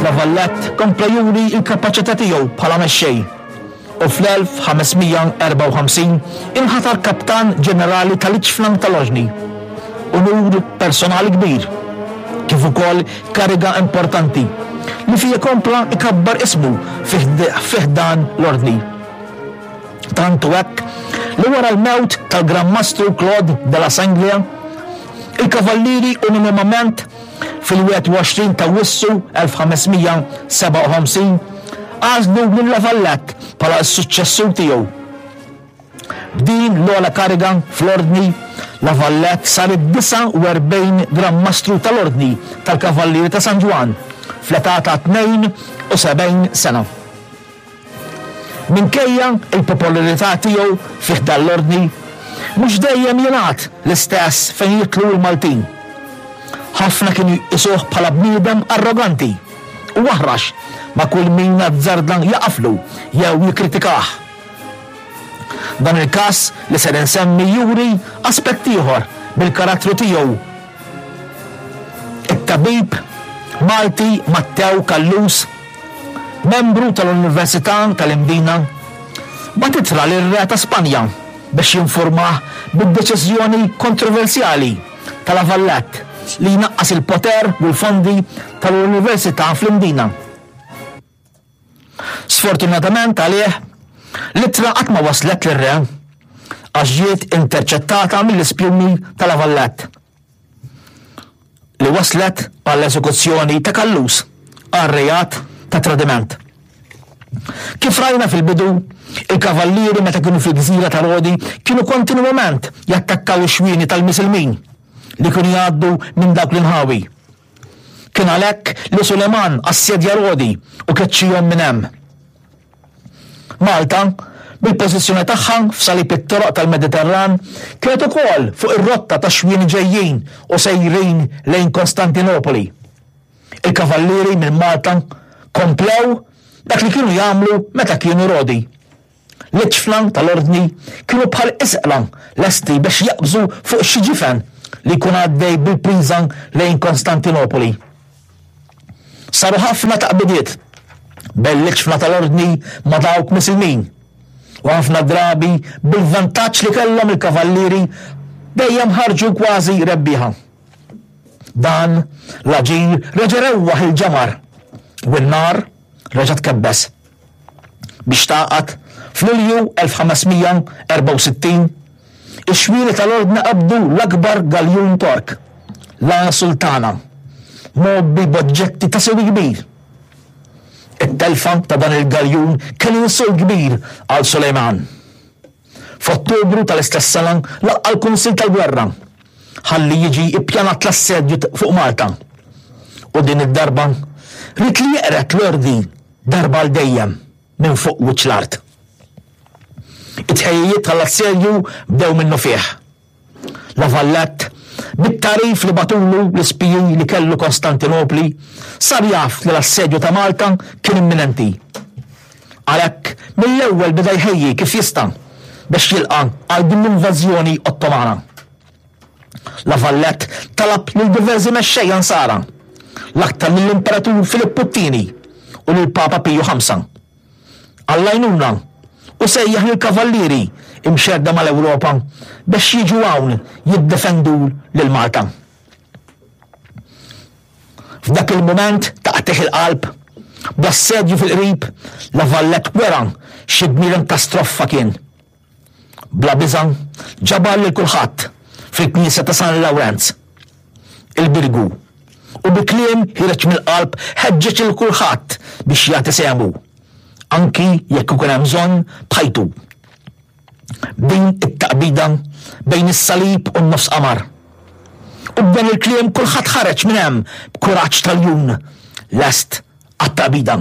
La Vallette kompla juri l-kapaċità tiegħu bħala mexxej u fl-1554 inħatar Kaptan Ġenerali tal-Iċfna tal-Oġni, unur personali kbir, kif ukoll kariga importanti li fiha kompla jkabbar ismu fi ħdan l-Ordni. Tant hu hekk li wara l-mewt tal-Gran Mastru Claude de la Sanglia, il-Kavallieri unanimament Fil-21 ta' Awwissu 1557 għażlu lil La Valette bħala s-suċċessur tiegħu. B'din l-ogħla kariga fl-Ordni, La Valette sar id-49 Gran Mastru tal-Ordni tal-Kavallieri ta' San Ġwann fl-età ta' 72 sena. Minkejja l-popolarità tiegħu fi ħdan l-Ordni, mhux dejjem jingħad l-istess fejn jidħlu l-Maltin. Ħafna kienu jqisuh bħala bniedem arroganti u aħrax ma' kull min azzarda jaqaflu jew jikkritikah. Dan il-każ li ser insemmi juri aspett ieħor mill-karattru tiegħu. It-tabib Malti Mattew Callus, membru tal-Università tal-Imdina, bagħat ittra lir-Re ta' Spanja biex jinfurmah bid-deċiżjoni kontroversjali ta' La Valette li jnaqqas il-poter u l-fondi tal-Università fl-Imdina. Sfortunatament għalih, l-ittra qatt ma waslet lir-Re għax ġiet interċettata mill-ispjuni ta' La Valette. Li wasslet għall-eżekuzzjoni ta' Callus għal reat ta' tradiment. Kif rajna fil-bidu, il-kavallieri meta kienu fil-gżira ta' Rodi kienu kontinwament jattakkaw ix-xwieni tal-Misilmin li kienu jgħaddu minn dawk l-inħawi. Kien għalhekk li Suleman assedja Rodi u keċċihom minn hemm. Malta, bil-pożizzjoni tagħha f'salib it-toroq tal-Mediterran, kienet ukoll fuq ir-rotta tax-xwieni ġejjin u sejrin lejn Kostantinopoli. Il-kavallieri minn Malta komplew dak li kienu jagħmlu meta kienu Rodi. L-iġfna tal-Ordni kienu bħal isqla lesti biex jaqbżu fuq xi ġifen li jkun għaddej bil-priża lejn Konstantinopoli. Saru ħafna taqbidiet bejn l-iġfna tal-Ordni ma' dawk Misilmin, u ħafna drabi bil-vantaġġ li kellhom il-kavallieri dejjem ħarġu kważi rebbieħa. Dan l-aġir reġa' rewwaħ il-ġamar u n-nar reġa' tkebbes. Biex tagħqad, f'Lulju 1564, ix-xwieni tal-Ordni qabdu l-akbar galjun Tork, La Sultana, mgħobbi b'oġġetti ta' sewi kbir. It-telfa ta' dan il-galjun kien insult kbir għal Sulejman. F'Ottubru tal-istess sena laqqa' l-Kunsill tal-Gwerra ħalli jiġi ppjanat l-assedju fuq Malta u din id-darba ried li jeqred l-Ordni darba għal dejjem minn fuq wiċċ l-art. It-tħejjijiet għall-assedju bdew minnufih. La Valette, bit-tagħrif li bagħtulu l-ispiji li kellu Konstantinopli, sar jaf li l-assedju ta' Malta kien imminenti. Għalhekk, mill-ewwel beda jħejji kif jista' biex jilqa' għal din l-invażjoni Ottomana. La Valette talab lil diversi mexxejja Nsara, l-aktar lill-Imperatur Filippu t-Tieni u lill-Papa Piju Ħamsa, għall-għajnuna u sejjaħ lill-kavallieri mxerrda mal-Ewropa biex jiġu hawn jiddefendu lil Malta. F'dak il-mument ta' qtigħ il-qalb, bl-assedju fil-qrib, La Valette wera xi bniedem ta' stroffa kien. Bla biża' ġabar lil kulħadd fil-knisja ta' San Lawrenz, il-Birgu, u bi kliem ħiereġ mill-qalb ħeġġeġ lil kulħadd biex jagħti sehmu, anki jekk ikun hemm bżonn b'ħajtu. Din it-taqbida bejn is-salib u n-nofs qamar. U b'dan il-kliem kulħadd ħareġ minn hemm b'kuraġġ ta' ljun lest għat-taqbida.